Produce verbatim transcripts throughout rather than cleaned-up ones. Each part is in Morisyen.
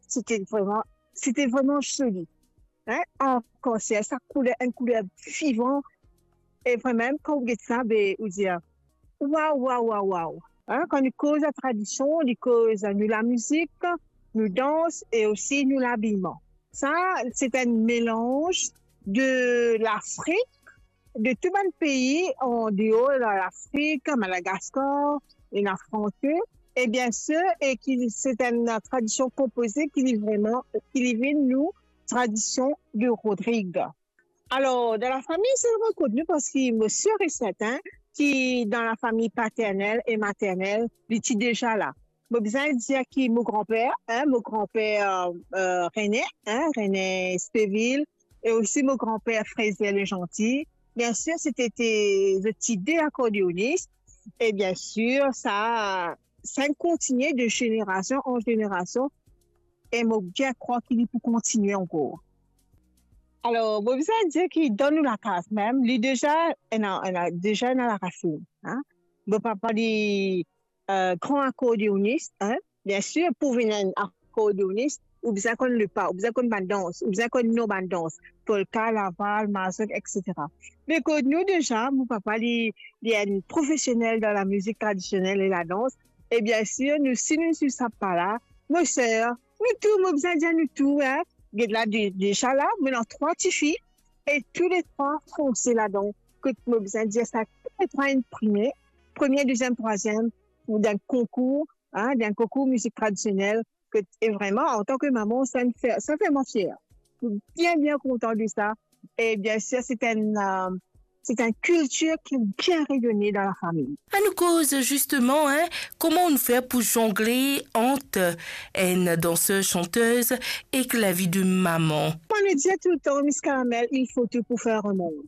Sete vreman, sete vreman zoli. Hein? Ankor, se sa kouler, enn kouler vivan. E vremem, kan ou get sa, be, ou dir, waw, waw, waw, waw. Hein? Kan nou koz latradision, nou koz nou lamizik, nou dans e osi nou labiman. Sa, se enn melanz de Lafrik, de tou bann pei an deor Lafrik, Madagaskar, e Lafrans, e bien sir, e ki se enn tradision konpoze ki li vreman, ki li vinn nou tradision de Rodrig. Alor, dan lafami, se vre kot nou, parski mo sir e sertin ki dan lafami paternel e maternel, li ti deza la. Mo bizin dir ki mo granper, hein, mo granper, euh, René, hein, René Spéville, e osi mo granper Fraser Legentil. Bien sir, sete, te, zot ti de akordeonis. E bien sir, sa, sa kontigne de zenerasion an zenerasion. E mo bien krwar ki li pou kontigne ankor. Alor, mo bizin dir ki dan nou lakaz mem, li deza ena, ena, deza ena larasinn, hein. Mo papa li, euh, gran akordeonis, hein. Bien sir, pou vinn enn akordeonis, ou bizin konn lepa, ou bizin konn bann dans, ou bizin konn non bann dans, polka, laval, mazurka, et cetera. Me kot nou deza, mo papa li, li enn profesionel dan lamizik tradisionel e ladans. E bien sir, nou, si nou swiv sa pa la, mo ser, nou tou, mo bizin dir nou tou, hein. Get la, de, deza la, mo ena trwa tifi, e tou le trwa fonse ladan. Kot mo bizin dir sa, tou le trwa inn prime, premie, deziem, trwaziem, pou dan konkour, hein, dan konkour mizik tradisionel. Kot, e vreman, antan ki mama, sa fer, sa fer mwa fier. Mo bien, bien kontan de sa. E bien sir, se enn, euh, se enn kiltir ki bien reyone dan lafami. Anou koz zisteman, hein, kouma ou fer pou zongle ant enn danser, chantez ek lavi de mama? Mwa, mo dir toultan, Miss Caramel, il faut tout pour faire un monde.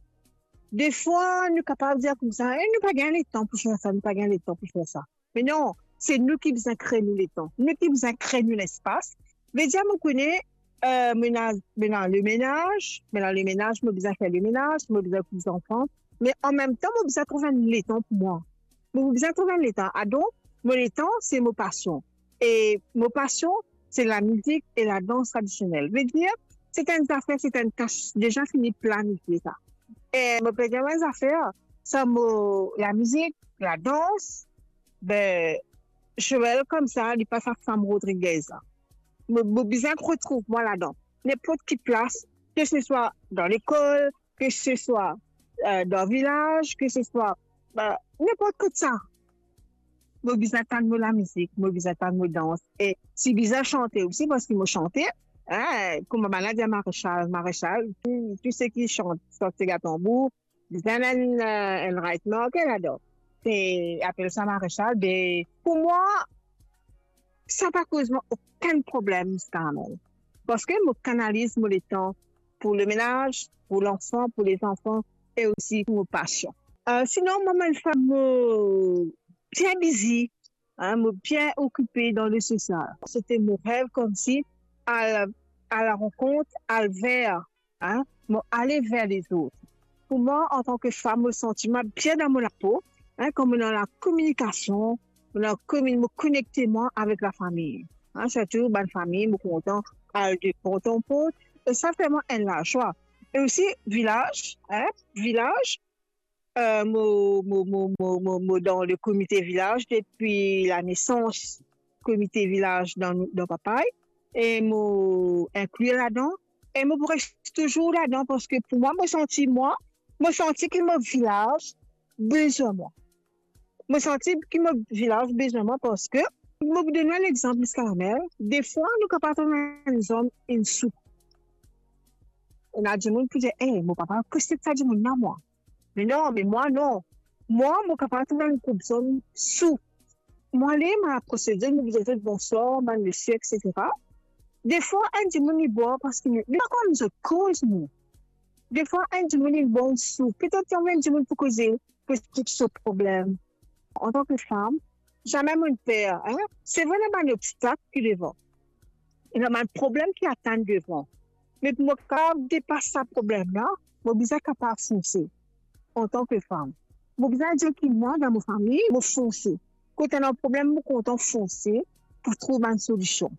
Defwa, nou kapav dir koumsa, eh, nou pa gagn letan pou fer sa, nou pa gagn letan pou fer sa. Me non, se nou ki bizin kre nou letan, nou ki bizin kre nou lespas. Vedir, mo kone, euh, mo ena, mo ena lemenaz, mo ena lemenaz, mo bizin fer lemenaz, mo bizin koup zanfan, me anmemtan, mo bizin trouv enn letan pou mwa. Mo bizin trouv enn letan. Adonk, mo letan, se mo pasion. E mo pasion, se lamizik e ladans tradisionel. Vedir, se enn zafer, se enn tas deza fini planifie sa. E mo pe dir enn zafer, san mo lamizik, ladans, be, Joël koumsa, li pa sa fam Rodriguez la. Mo, mo bizin retrouv mwa ladan. Ninport ki plas, ke se swa dan lekol, ke se swa, euh, dan vilaz, ke se swa, be, ninport kot sa. Mo bizin tann mo lamizik, mo bizin tann mo dans. E si bizin sante osi, parski mo sante, hein, kouma bann la dir Marechal, Marechal, tou, tou seki sant, sant sega tanbour, bizin enn, euh, enn right marker ladan. Se apel sa Marechal, be, pou mwa, sa pa koz mwa okenn problem ziska la mem. Parski mo kanaliz mo letan pou lemenaz, pou lanfan, pou lezanfan e osi pou mo pasion. Euh, sinon, mwa, mo enn fam, mo bien bizi, hein, mo bien okipe dan le sosial. Sete mo rev koumsi al, al rankont, al ver, hein, mo ale ver lezot. Pou mwa, antan ki fam, mo santi mwa bien dan mo lapo, hein, kan mo dan lakominikasion, mo dan komi-, mo konekte mwa avek lafami. Hein, sirtou bann fami, mo kontan al de port an port, e sa fer mwa enn lazwa. E osi, vilaz, hein, vilaz, euh, mo, mo, mo dan le komite vilaz depi lanesans komite vilaz dan, dan Papay, e mo inkli ladan, e mo pou res touzour ladan, parski pou mwa, mo santi mwa, mo santi ki mo vilaz bizin mwa. Mo santi ki mo vilaz bizin mwa, parski mo pou donn enn lexanp, Miss Caramel, defwa nou kapav trouv enn zonm inn sou. Ena dimoun pou dir, "Eh, mo papa, kote sa dimoun la, mwa?" Me non, me mwa non. Mwa, mo kapav trouv enn group zonm sou. Mo ale, mo apros zot, mo dir zot bonswar, bann misie, et cetera. Defwa, enn dimoun li bwar parski li pa konn zot koz, non. Defwa, enn dimoun li bwar sou. Petet enn dimoun pou koze, pou eksplik so problem. Antan ki fam, zame mo per, hein? Se vre, ena bann obstak ki devan. Ena bann problem ki atann devan. Me pou mo kapav depas sa problem la, mo bizin kapav fonse antan ki fam. Mo bizin dir ki mwa, dan mo fami, mo fonse. Kot ena problem, mo kontan fonse pou trouv bann solision.